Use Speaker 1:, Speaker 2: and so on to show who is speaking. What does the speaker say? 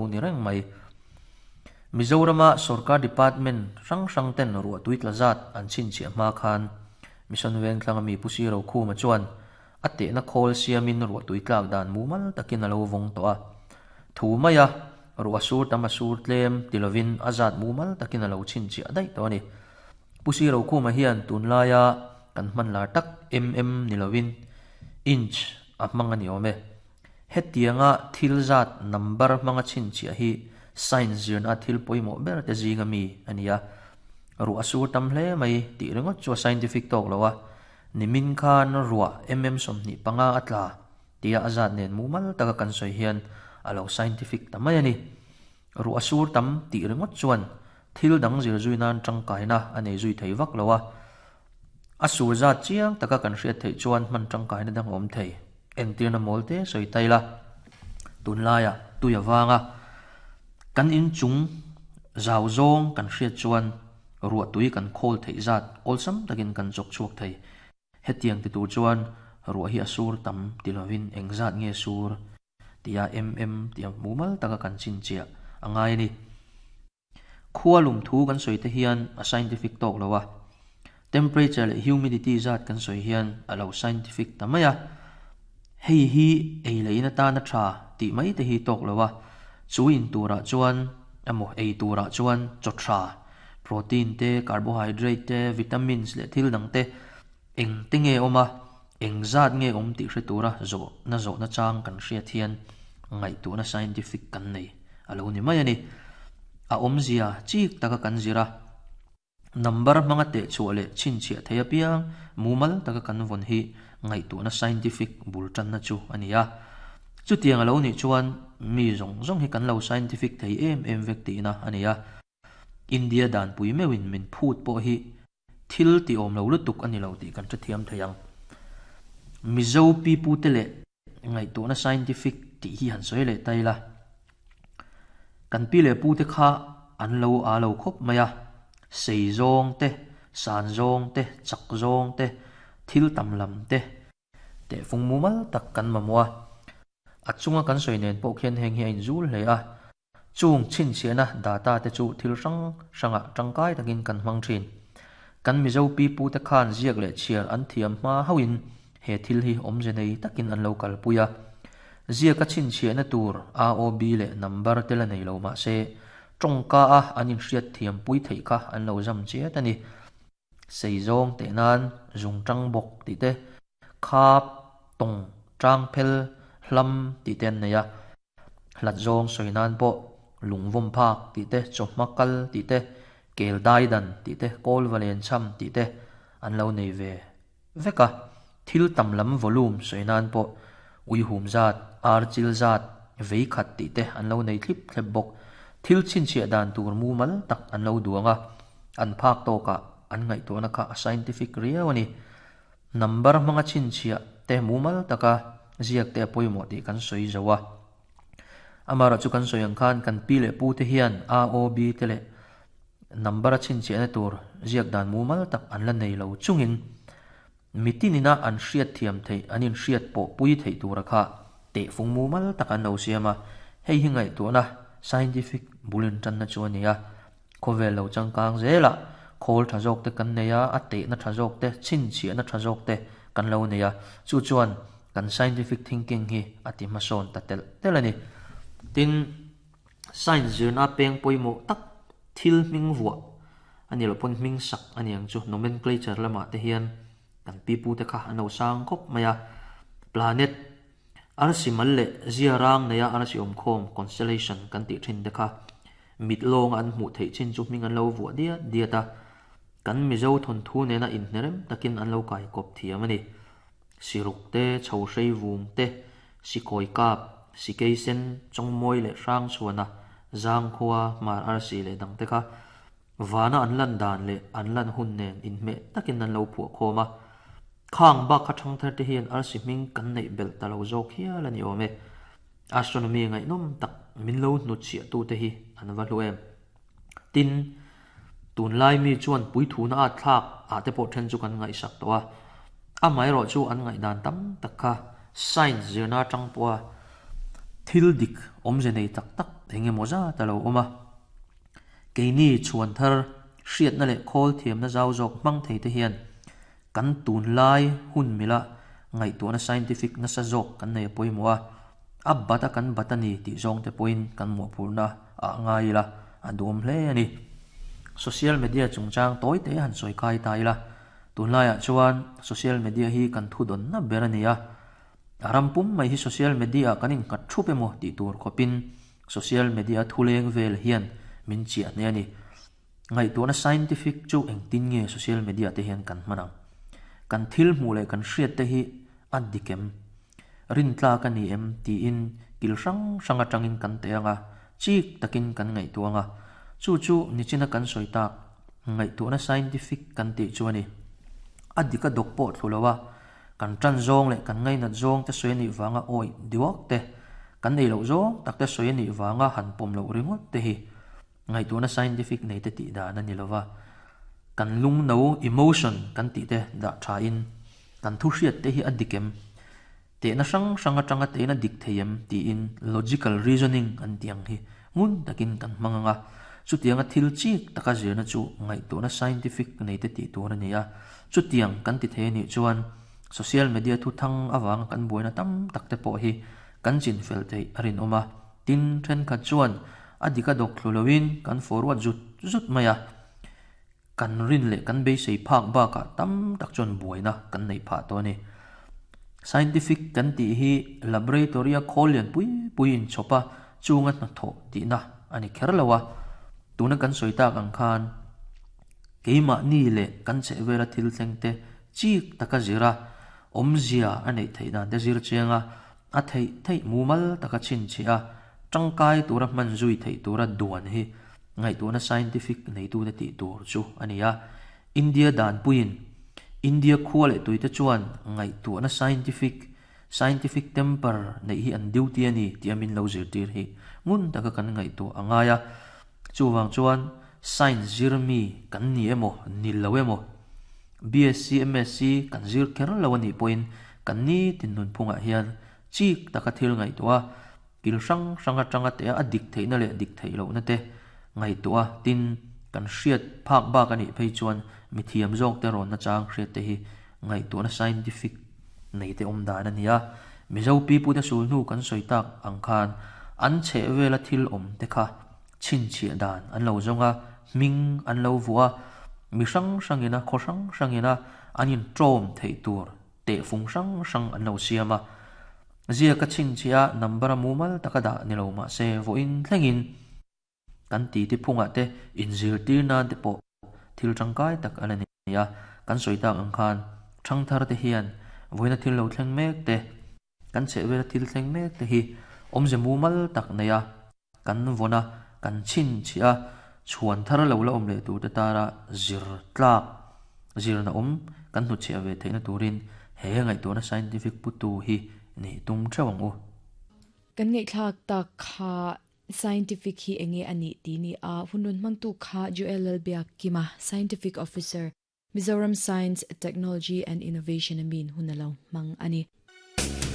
Speaker 1: lo ni reng mai. Mizorama sorkar department hrang hrang ten ruahtui tla zat an chhinchhiah hma khan Mission Vengthlanga mi Pu Siro Khuma chuan a tehna khawl siamin ruahtui tlak dan mumal takin a lo vawng tawh a. Thu maia ruah sur tam a sur tlem ti lovin a zat mumal takin a lo chhinchhiah daih tawh a ni. Pu Siro Khuma hian tunlaia kan hman lar tak mm ni lovin inch a hmang a ni awm e. Hetianga thil zat number hmanga chhinchhiah hi science zirna thil pawimawh ber te zinga mi a ni a. Ruah a sur tam hle mai tih ringawt chu a scientific tawk lo a, nimin khan ruah mm 25 a tla tia a zat nen mumal taka kan sawi hian a lo scientific ta mai a ni. Ruah a sur tam tih ringawt chuan thil dang zir zui nan tangkaina a nei zui thei vak lo a. A sur zat chiang taka kan hriat theih chuan hman tangkaina dang a awm thei. Entirna mawl te sawi tai la. Tunlaiah tui a vang a, kan inchung zau zawng kan hriat chuan ruahtui kan khawl theih zat awlsam takin kan chawk chhuak thei. Hetiang ti tur chuan ruah hi a sur tam ti lovin engzat nge sur tia mm tia mumal taka kan chhinchhiah a ngai a ni. Khua lum thu kan sawi te hian a scientific tawk lo a, temperature leh humidity zat kan sawi hian a lo scientific ta mai a. Hei hi ei leh in atana tha tih mai te hi tawk lo a, chu in turah chuan emaw ei turah chuan chaw tha, protein te, carbohydrate te, vitamins leh thil dang te eng te nge awm a, eng zat nge awm tih hre tura zawhna zawhna chang kan hriat hian ngaihtuahna scientific kan nei a lo ni mai a ni. A awmzia chik taka kan zir a, number hmanga tehchhuah leh chhinchhiah thei apiang mumal taka kan vawn hi ngaihtuahna scientific bul tanna chu a ni a. Chutiang a lo nih chuan mi zawng zawng hi kan lo scientific thei em em vek tihna a ni a. India danpui meuhin min phut pawh hi Thil ti awm lo lutuk a ni lo tih kan hrethiam thei ang. Mizo pipute leh ngaihtuahna scientific tih hi han sawi leh ta ila. Kan pi leh pute kha an lo â lo khawp mai a, sei zawng te, san zawng te, chak zawng te, thil tam lam te, Tehfung mumal tak kan mamawh a, a chunga kan sawi nen pawh khian heng hi a inzul hle a. Chung chhinchhiahna data te chu thil hrang hrangah tangkai takin kan hmang thin. Kan Mizo pipute khan ziak leh chhiar an thiam hma hauhin he thil hi awmze nei takin an lo kalpui a. Ziaka chhinchhiahna tur AOB leh number te la nei lo mah se, tawngka a an inhriat thiampui theih kha an lo zam chiat a ni. Sei zawng teh nan zung tang bawk tih te, khap, tawng, tang phel, hlam tih te an nei a. Hlat zawng sawi nan pawh lungvawm phak tih te, chawhma kal tih te, kel dai dan tih te, kawl va len cham tih te an lo nei ve vek a. Thil tam lam volume sawi nan pawh uihum zat, ar chil zat, vei khat tih te an lo nei thlip thlep bawk. Thil chhinchhiah dan tur mumal tak an lo duang a, an phak tawkah an ngaihtuahna kha a scientific riau a ni. Number hmanga chhinchhiah te mumal taka ziak te a pawimawh tih kan sawi zo a. Amaherawhchu chu kan sawi ang khan kan pi leh pu te hian A, O, B te leh number a chhinchhiahna tur ziak dan mumal tak an la nei lo chungin mitinina an hriat thiam theih, an inhriat pawh pui theih tura kha tehfung mumal tak an lo siam a. Hei hi ngaihtuahna scientific bul intanna chu a ni a. Khawvel lo changkang zelah khawl tha zawk te kan nei a, a tehna tha zawk te, chhinchhiahna tha zawk te kan lo nei a. Chu chuan kan scientific thinking hi a ti hmasawn ta telh telh a ni. Tin, science zirna peng pawimawh tak thil hming vuah a ni loh pawn hming sak a ni ang chu nomenclature lamah te hian kan pipute kha an lo sang khawp mai a. Planet, arsi mal leh zia rang neia arsi awmkhawm, constellation, kan tih thin te kha mit lawnga an hmuh theih chin chu hming an lo vuah diat diat a. Kan Mizo thawnthu nena inhnerem takin an lo kaikawp thiam a ni. Siruk te, Chhohrei vung te, Sikawi kap, Sikei sen, Chawngmawi leh Hrangchhuana, Zangkhua, Hmar Arsi leh dang te kha vana an lan dan leh an lan hun nen inhmeh takin an lo phuah khawm a. Khang bak kha thangthar te hian arsi hming kan neih belh ta lo zawk hial a ni awm e. Astronomy ngaihnawm tak min lo hnutchhiah tute hi an va hlu em. Tin, tunlai mi chuan puithuna at thlak ah te pawh then chu kan ngaihsak tawh a. Amaherawh chu an ngaihdan tam tak kha science zirna atang pawha thil dik Awmze nei tak tak eng emaw zat a lo awm a. Keini chhuan thar hriatna leh khawl thiamna zau zawk hmang thei te hian kan tunlai hun mila ngaihtuahna scientific nasa zawk kan nei a pawimawh a, a bat a kan bat a ni tih zawng te pawhin kan mawhphurhna ah ngai ila a duhawm hle a ni. Social media chungchang tawi te han sawi kai ta ila, tunlaiah chuan social media hi kan thudawnna ber a ni a, A ram pum mai hi social media ah kan innghat thup emaw tih tur khawpin social media thuleng vel hian min chiah hneh a ni. Ngaihtuahna scientific chu engtin nge social media te hian kan hman ang? Kan thil hmuh leh kan hriat te hi a dik em? Rintlak a ni em tiin kil hrang hrang atangin kan teh ang a, chik takin kan ngaihtuah ang a. Chu chu nichina kan sawi tak ngaihtuahna scientific kan tih chu a ni. A dik a dawk pawh thlu lo a, Kan ṭan zawng leh kan ngainat zawng te sawi a nih vanga awih diuak te, kan ei loh zawng tak te sawi a nih vanga han pawm loh ringawt te hi ngaihtuahna scientific nei te tih dan a ni lova. Kan lungno, emotion, kan tih te dah ṭhain kan thu hriat te hi a dik em? Tehna hrang hrang aṭanga tehna dik thei em? tiin logical reasoning an tih ang hi ngun takin kan hmang ang a. Chutianga thil chik taka zirna chu ngaihtuahna scientific nei te tih tur a ni a. Chutiang kan ti thei a nih chuan social media thu thang avanga kan buaina tam tak te pawh hi kan chin fel theih a rinawm a. Tin, thenkhat chuan a dik a dawk thlu loin kan forward zut zut mai a. Kan rin leh kan beisei phak bakah tam tak chuan buaina kan neih phah tawh a ni. Scientific kan tih hi laboratory-a khawl lian pui pui inchhawp a chunga hnathawh tihna a ni kher lo a. Tuna kan sawi tak ang khan keimahni leh kan chhehvela thil thleng te chik taka zir a, awmzia a neih theih dan te zir chiang a, a theih theih mumal taka chhinchhiah a, tangkai tura hman zui theih tura duan hi ngaihtuahna scientific neitute tih tur chu a ni a. India danpuiin India khua leh tuite chuan ngaihtuahna scientific, scientific temper, neih hi an duty a ni tih a min lo zirtir hi ngun taka kan ngaihtuah a ngai a. Chuvang chuan science zir mi kan ni emaw, ni lo emaw, BSc, MSc kan zir kher lo a nih pawhin kan nitin nunphungah hian chik taka thil ngaihtuah a, Kil hrang hrang atanga teh a a dik theihna leh dik theih lohna te ngaihtuah a, tin, kan hriat phak bak a nih phei chuan mi thiam zawk te rawnna chang hriat te hi ngaihtuahna scientific nei te awm dan a ni a. Mizo pipute sul hnu kan sawi tak ang khan an chheh vela thil awm te kha chhinchhiah dan an lo zawng a, hming an lo vuah a, mi hrang hrangina khaw hrang hrangina an inṭawm theih tur Tehfung hrang hrang an lo siam a, ziak a chhinchhiah a number a mumal taka dah ni lo mah se vawiin thlengin kan titi phungah te inzirtir nan te pawh thil tangkai tak a la ni a, kan sawi tak ang khan thangthar te hian vawiina thil lo thleng mek te, kan chhehvela thil thleng mek te hi awmze mumal tak nei a, kan vawn a, kan chhinchhiah a, chhuan thar lo la awm leh turte tara zir tlak, zirna awm kan hnutchhiah ve theihna turin he ngaihtuahna scientific putu hi nih tum theuh ang u.
Speaker 2: Kan ngaihthlak tak kha scientific hi enge a nih tih ni a, hun rawn hmangtu kha Joel Lalbiakkima, Scientific Officer, Mizoram Science, Technology and Innovation a min hun a lo hmang a ni.